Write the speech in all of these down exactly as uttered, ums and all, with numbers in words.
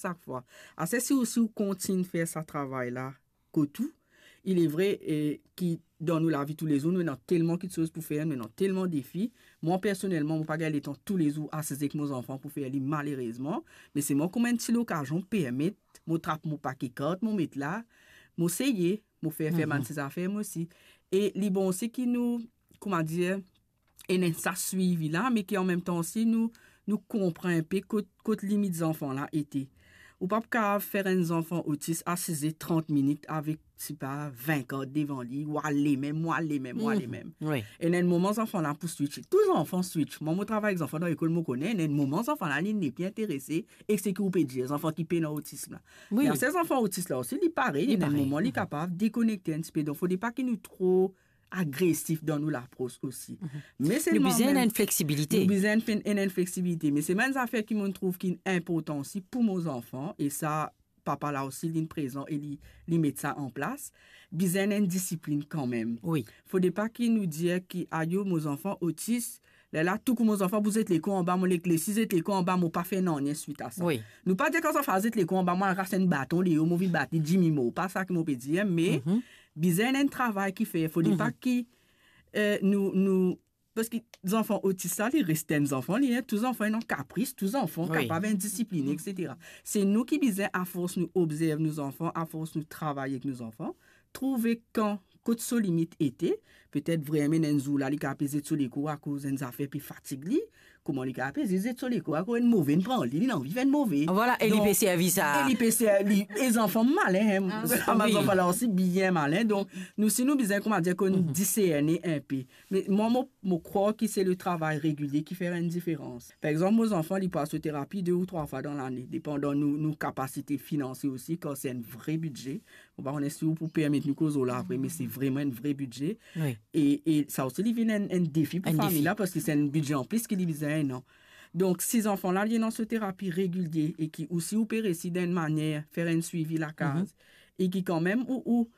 sak fwa. Aster si ou, si ou kontign fer sa travay la kot ou, il est vrai, eh, ki dan nou lavi toulezour, nou ena telman kiksoz pou fer, nou ena telman defi. Mwa, personelman, mo pa gagn letan toulezour asize ek mo zanfan pou fer li, malerezman. Me selman kouma enn ti lokazion permet, mo trap mo pake kart, mo met la, mo seye, mo fer, fer bann ti zafer mwa osi. E li bon osi ki nou, kouma dir, ena sa swivi la, me ki anmemtan osi nou, nou konpran inpe kot, kot limit zanfan la ete. Ou pa pou kapav fer enn zanfan otis asize trant minit avek, sipa, vin kart devan li, ou ale mem, ou ale mem, ou ale mem. Wi. Ena enn moman zanfan la pou switch. Tou zanfan switch. Mwa, mo travay ek zanfan dan lekol, mo kone, ena enn moman zanfan la, li nepli interese ek seki ou pe dir, zanfan ki pena otism la. Wi. Me aster zanfan otis la osi, li parey, ena enn moman li kapav dekonekte enn tipe. Donk, fode pa ki nou tro agresif dan nou lapros osi. Me selman bizin mem enn fleksibilite. Nou bizin enn, enn fleksibilite. Me selman enn zafer ki mo trouv ki inportan osi pou mo zanfan, e sa, papa la osi, linn prezan e li, li met sa an plas, bizin enn disiplin kanmem. Wi. Fode pa ki nou dir ki, ayo, mo zanfan otis, lerla tou kou mo zanfan pou zet lekou anba, mo lek, lesi zet lekou anba, mo pa fer nanye swit a sa. Wi. Nou pa dir kan zanfan zet lekou anba, mo al ras enn baton deor, mo vinn bat li, dimi mo. Pa sa ki mo pe dir, me bizin enn travay ki fer. Fode pa ki, eh, nou, nou, parski zanfan otis la, li res enn zanfan, li, tou zanfan ena kapris, tou zanfan kapav indisipline, etsetera. Se nou ki bizin, afors nou obzerv nou zanfan, afors nou travay ek nou zanfan, trouve kan, kot so limit ete, petet vremem enn zour la, li kapav pe zet so lekou akoz enn zafer pe fatig li, kouma li kapav pe zet so lekou akoz enn move inn pran li, li anvi fer enn move. Vwala, e li pe servi sa. Donk, e li pe servi, e zanfan malin, hein. Ah. Sa, bann zanfan la osi bien malin. Donk, nou, si nou bizin, kouma dir, konn diserne inpe. Me mwa, mo, mo krwar ki se le travay regilie ki fer enn diferans. Par exanp, mo zanfan, li pou al so terapi de ou trwa fwa dan lane, depandan nou, nou kapasite finansie osi, kan se enn vre bidze. Mo pa kone si ou pou permet nou koz lor la apre, me se vreman enn vre bidze. Wi. E, e sa osi, li vinn enn, enn defi pou fami la, parski se enn bidze anplis ki li bizin, non? Donk, si zanfan la, li ena so terapi regilie e ki osi ou pe resi dan enn manier fer enn swivi lakaz, e ki kanmem ou, ou,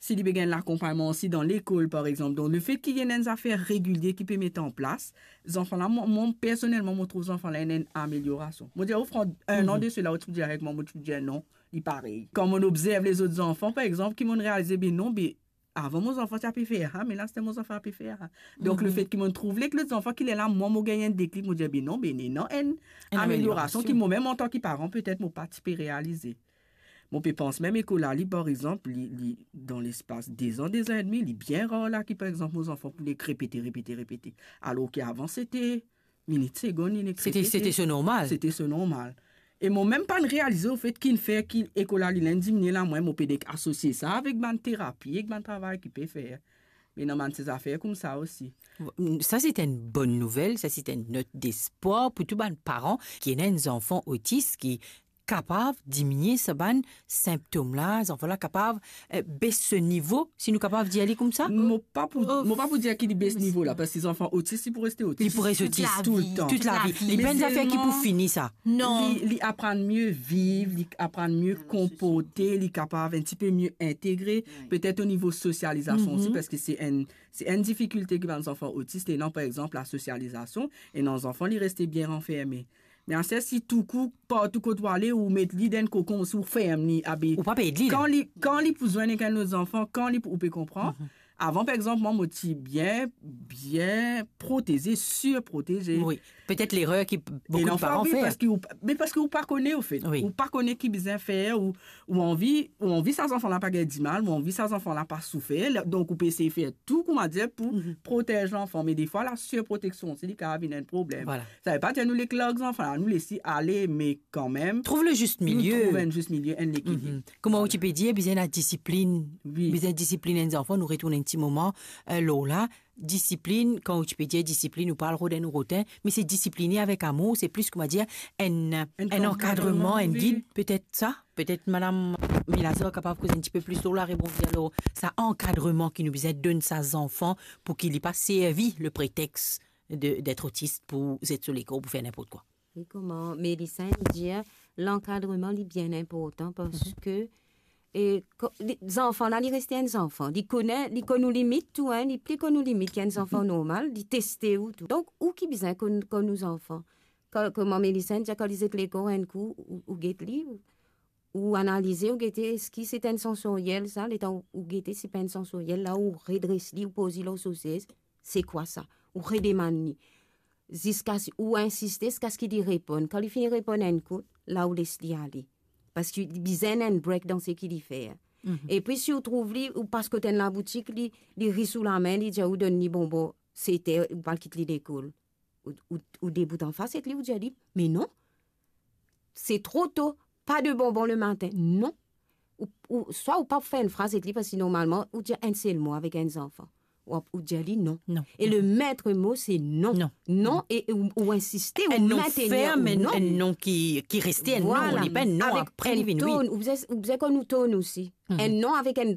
si li pe gagn lakonpagnman osi dan lekol, par exanp. Donk, lefet ki ena enn zafer regilie ki pe met an plas, zanfan la, mwa, mwa, personelman, mo trouv zanfan la ena enn ameliorasion. Mo dir, ou pran enn an de sela, ou ti pou dir avek mwa, mo ti pou dir non, li parey. Kan mo obzerv lezot zanfan, par exanp, ki mo realize, be non, be avan mo zanfan ti pe fer sa, me la, se mo zanfan pe fer sa. Donk, lefet ki mo trouv li ek lot zanfan, ki lerla, mwa, mo gagn enn deklik, mo dir, be non, be ena enn ameliorasion ki mwa mem, antan ki paran, petet mo pa ti pe realize. Mo pe pans mem lekol la, li, par exanp, li, li, dan lespas de zan, de zan edmi, li bien rar la ki, par exanp, mo zanfan pou li repete, repete, repete. Alor ki avan, sete minit, segonn, li nek repete. Sete, sete so normal. Sete so normal. E mo mem pa'nn realize lefet ki fer ki lekol la, li inn diminie la, mwa, mo pe nek asosie sa avek bann terapi, ek bann travay ki pe fer. Me ena bann ti zafer koumsa osi. Sa, se enn bonn nouvel, sa, se enn not despwar pou tou bann paran ki ena enn zanfan otis ki kapav diminie sa bann sinptom la, zanfan la kapav, eh, bes so nivo, si nou kapav dir li koumsa? Mo pa pou, mo pa pou dir ki li bes nivo la, parski zanfan otis, li pou reste otis. Li pou reste otis. Toultan. Toultan. Li pa enn zafer ki pou fini sa. Non. Li, li aprann mie viv, li aprann mie konporte, li kapav enn tipe mie integre, petet o nivo sosializasion osi, parski se enn, se enn difikilte ki bann zanfan otis ena, par exanp, lasosializasion, ena zanfan, li reste bien ranferme. Me aster si tou kou, partou kot ou ale, ou met li dan enn kokon, si ou ferm li, abe, ou pa pe ed li, kan li, kan li pou zwenn ek enn lot zanfan, kan li pou, ou pe konpran. Avan, par exanp, mwa, mo ti bien, bien proteze, sirproteze. Wi. Petet lerer ki boukou de paran fer. Parski ou, me parski ou pa kone, ofet. Wi. Ou pa kone ki bizin fer, ou, ou anvi, ou anvi sa zanfan la pa gagn dimal, ou anvi sa zanfan la pa soufer, donk ou pe esey fer tou, kouma dir, pou protez lanfan. Me defwa, lasirproteksion osi, li kapav vinn enn problem. Vwala. Sa ve pa dir nou les larg zanfan la, nou les li ale, me kanmem, trouv le zis milie. Nou trouv enn zis milie, enn lekilib. Kouma ou ti pe dir, bizin ladisiplin. Wi. Bizin disiplin enn zanfan, nou retourn enn ti moman, eh, lor la. Disiplin, kan ou ti pe dir disiplin, ou pa al rod enn rotin, me se disipline avek amour, se plis, kouma dir, enn, enn ankadreman, enn gid, petet sa. Petet madam Milazor kapav koz enn tipe plis lor la, rebondir lor sa ankadreman ki nou bizin donn sa zanfan pou ki li pa servi le pretex de, d'être autiste pou zet so lekor, pou fer ninport kwa. Wi, kouma Melissa inn dir, lankadreman, li bien inportan parski, e, ko-, li, zanfan la, li reste enn zanfan. Li kone, li konn ou limit tou, hein, li pli konn ou limit ki enn zanfan normal, li teste ou tou. Donk, ou ki bizin konn, konn ou zanfan. Kan, kouma Melissa inn dir, kan li zet lekor enn kou, ou, ou get li, ou, ou analize, ou gete, eski se enn sansoryel sa, letan ou, ou gete si pa enn sansoryel, la ou redres li, ou poz li lor so sez, se kwa sa? Ou redemann li. Ziska si, ou insiste ziska si li reponn. Kan li fini reponn enn kou, la ou les li ale. Paski li bizin enn break dan seki li fer. Mhm. Epi si ou trouv li, ou pas kot enn laboutik, li, li ri sou lame, li dir ou donn li bonbon, sete, ou pa kit li lekol. Ou, ou, ou debout anfas ek li, ou dir li, "Me non, se tro to, pa de bonbon le matin." Non. Ou, ou, swa ou pa fer enn fraz ek li, paski normalman, ou dir enn sel mo avek enn zanfan. Ou, ou dir li non. Non. E le maître mot, se non. Non. Non, e, e ou, ou insiste, ou non, ou non. Enn non ferm, enn non ki, ki reste enn non, li pa enn non apre li vinn wi. Ou bizin, ou bizin konn ou ton osi. Mhm. Enn non avek enn,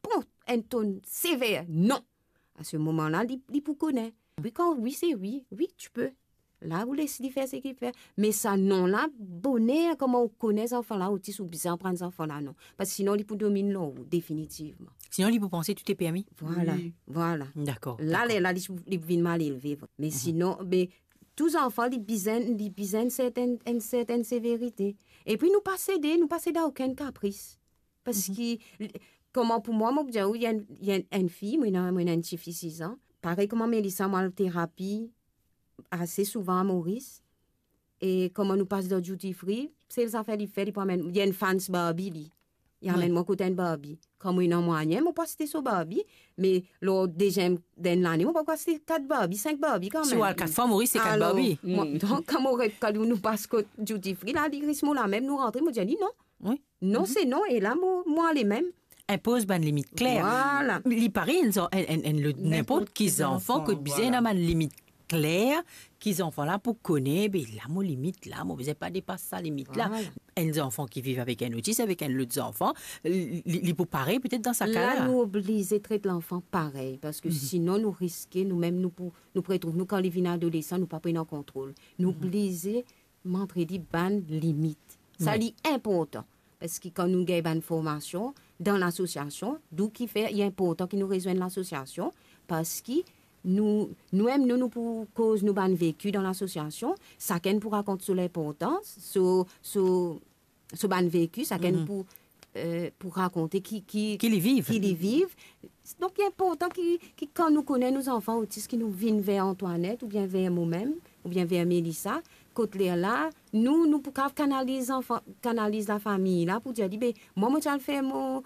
bon, enn ton sever, non. A se moman la, li, li pou kone. Wi, kan wi, se wi. Wi, tu peux. La, ou les li fer seki li fer. Me sa non la, boner, kouma ou kone zanfan la otis, ou bizin aprann zanfan la non. Paski sinon, li pou domin lor ou, definitivman. Sinon, li pou panse tout est permis. Vwala, vwala. Dakor, dakor. La, li, la, li, li vinn mal elve. Me sinon, be, tou zanfan, li bizin, li bizin enn sertenn, enn sertenn severite. Epi nou pa sede, nou pa sede a okenn kapris. Paski, kouma pou mwa, mo pou dir ou, li enn, li enn, enn fi, mo ena, mo ena enn tifi siz an. Parey kouma Melissa, mo al terapi ase souvan a Moris. E kouma nou pas dan duty free, sel zafer li fer, li pou amenn, li enn fans Barbie, li. Li amenn mwa kot enn Barbie. Kan mo ena mwayin, mo pou aste so Barbie, me lor deziem dan enn lane, mo pou aste kat Barbie, sink Barbie kanmem. Si ou al kat fwa Moris, se kat Barbie. Alor, mwa, donk, kan mo ret, kan nou pas kot duty free, la, li res mo la mem, nou rantre, mo dir li non. Wi. Non, se non, e la, mo, mo ale mem. Inpoz bann limit kler. Vwala. Li parey enn zan-, enn, enn, enn lot, ninport ki zanfan, kot bizin ena bann limit kler, ki zanfan la pou kone, be la, mo limit la, mo bizin pa depas sa limit la. Vwala. Enn zanfan ki viv avek enn otis, avek enn lot zanfan, li, li, li pou parey petet dan sa ka la. La, nou oblize tret lanfan parey, paski sinon nou riske, nou mem, nou pou, nou pou retrouv nou, kan li vinn adolesan, nou pa pou ena kontrol. Nou oblize montre li bann limit. Sa li inportan. Paski kan nou gagn bann formasion dan lasosiasion, d'où ki fer li inportan ki nou rezwenn lasosiasion, paski nou, nou mem, nou, nou pou koz nou bann veki dan lasosiasion, sakenn pou rakont so linportans, so, so, so bann veki, sakenn pou, eh, pou rakonte ki, ki, ki li viv. Ki li viv. Donk, li inportan ki, ki kan nou kone nou zanfan otis, ki nou vinn ver Antoinette, oubien ver mo mem, oubien ver Melissa, kot lerla, nou, nou pou kav kanaliz zanfan, kanaliz lafami la, pou dir li, be, mwa, mo ti al fer mo,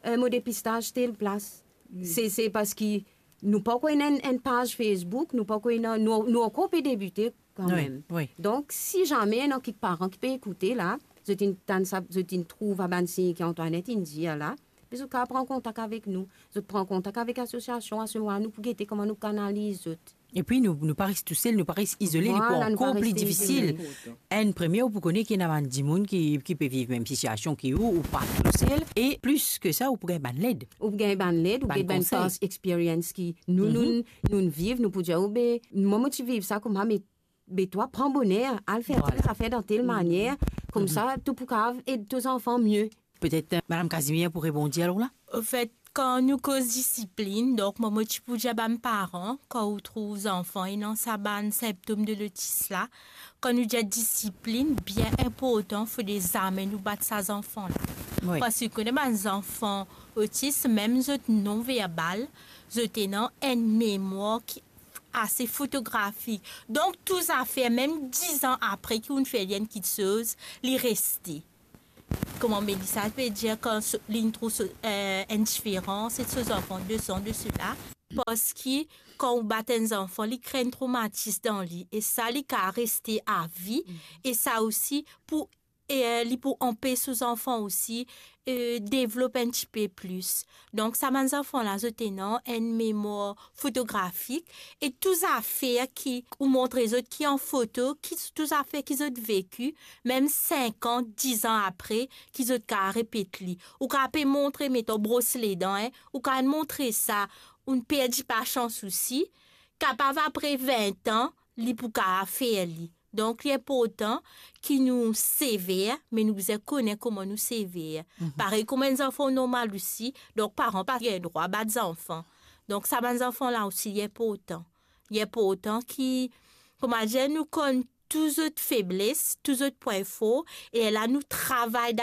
eh, mo depistaz tel plas. Se, se paski nou pankor ena enn, enn paz Facebook, nou pankor ena, nou, nou ankor pe debite kanmem. Wi, wi. Donk, si zame ena kek paran ki pe ekoute la, zot inn tann sa, zot inn trouv sa bann sign ki Antoinette inn dir la, be zot kav pran kontak avek nou. Zot pran kontak avek lasosiasion, a se moman nou pou gete kouma nou kanaliz zot. Epi nou, nou pa res tousel, nou pa res izole, li pou ankor pli difisil. Vwala, nou pa res izole. Enn premie, ou pou kone ki ena bann dimoun ki, ki pe viv mem sitiasion ki ou, ou pa tousel. E plis ki sa, ou pou gagn bann led. Ou pou gagn bann led, ou gagn bann past experience ki nou, nou, nou viv, nou pou dir, "Oh, be, mwa, mo ti viv sa kouma, me, be twa, pran boner, al fer tel zafer dan tel manier, koumsa, to pou kav ed to zanfan mie." Petet, eh, Madam Casimir pou rebondir alor la? Anfet, kan nou koz disiplin, donk, mwa, mo ti pou dir bann paran, kan ou trouv zanfan ena sa bann sinptom de lotis la, kan nou dir disiplin, bien inportan, fode zame nou bat sa zanfan la. Wi. Paski ou kone bann zanfan otis, mem zot non verbal, zot ena enn memwar ki ase fotografik. Donk, tou zafer, mem diz an apre ki ou'nn fer li enn kiksoz, li reste. Kouma Melissa pe dir, kan so, li trouv so, eh, enn diferans, e so zanfan de sa, de sela, paski kan ou bat enn zanfan, li kre enn tromatis dan li, e sa, li kav reste avi, e sa osi pou, e, eh, li pou anpes so zanfan osi, eh, devlop enn tipe plis. Donk, sa bann zanfan la, zot ena enn memwar fotografik, e tou zafer ki ou montre zot ki an foto, ki tou zafer ki zot veki, mem sink an, diz an apre, ki zot kav repet li. Ou kav pe montre, meton, bros ledan, en, ou kav montre sa, ou'nn perdi pa san sousi, kapav apre vin an, li pou kav fer li. Donk, li inportan ki nou sever, me nou bizin kone kouma nou sever. Mhm. Parey kouma enn zanfan normal osi, donk paran pa gagn drwa bat zanfan. Donk, sa bann zanfan la osi, li inportan. Li inportan ki, kouma dir, nou konn tou zot febles, tou zot pwin for, e lerla nou travay